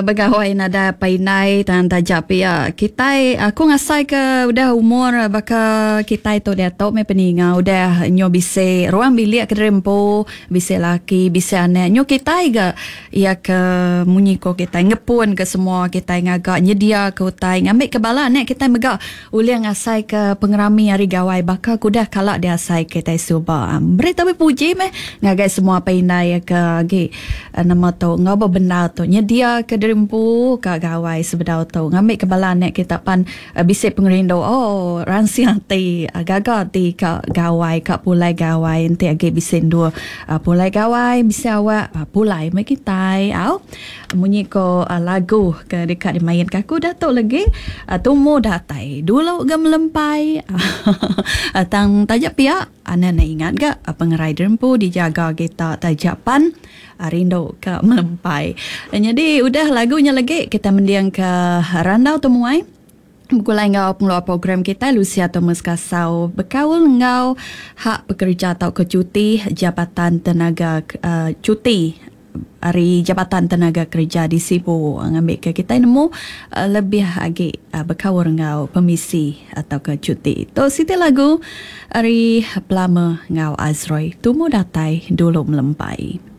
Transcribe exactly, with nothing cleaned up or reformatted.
Begawai nadai apai indai tang taja pia kitai aku ngasai ke udah umur baka kitai tu diatu meh peninga udah nyu bisi ruang bilik ke diri empu bisi laki bisi anak nyu kitai ga iya ke munyi ko kitai ngepun ke semua kitai ngaga nyedia ke utai ngambi ke bala anak kitai mega ulih ngasai ke pengerami hari gawai baka ke udah kala diasai kitai suba. Beri tabi puji meh ngagai semua apai indai ke agi nama tu enggau bebendar tu nyedia ke diri empu ka gawai sebedau tu ngambi ke bala anak kita pan uh, bisi pengerindu oh ransing ati uh, gaga ati ka gawai ka pulai gawai enti agi bisi endur uh, pulai gawai bisi awak uh, pulai meh kitai au munyi ko uh, lagu ke deka dimain ka aku dah tu lagi uh, tumu datai dulu ga melempai uh, tang taja pia anak nak ingat ga uh, pengerai diri empu dijaga kita taja pan rindu ke melempai. Jadi udah lagunya lagi kita mendiang ke randau temuai. Begulai enggau pengeluar program kita Lucia Thomas Kasau bekaul enggau hak pekerja atau ke cuti Jabatan Tenaga uh, cuti hari Jabatan Tenaga Kerja di Sibu ngambil ke kita nemu uh, lebih agi uh, bekaul enggau permisi atau ke cuti. Tu siti lagu hari Plama enggau Azroy tumu datai dulu melempai.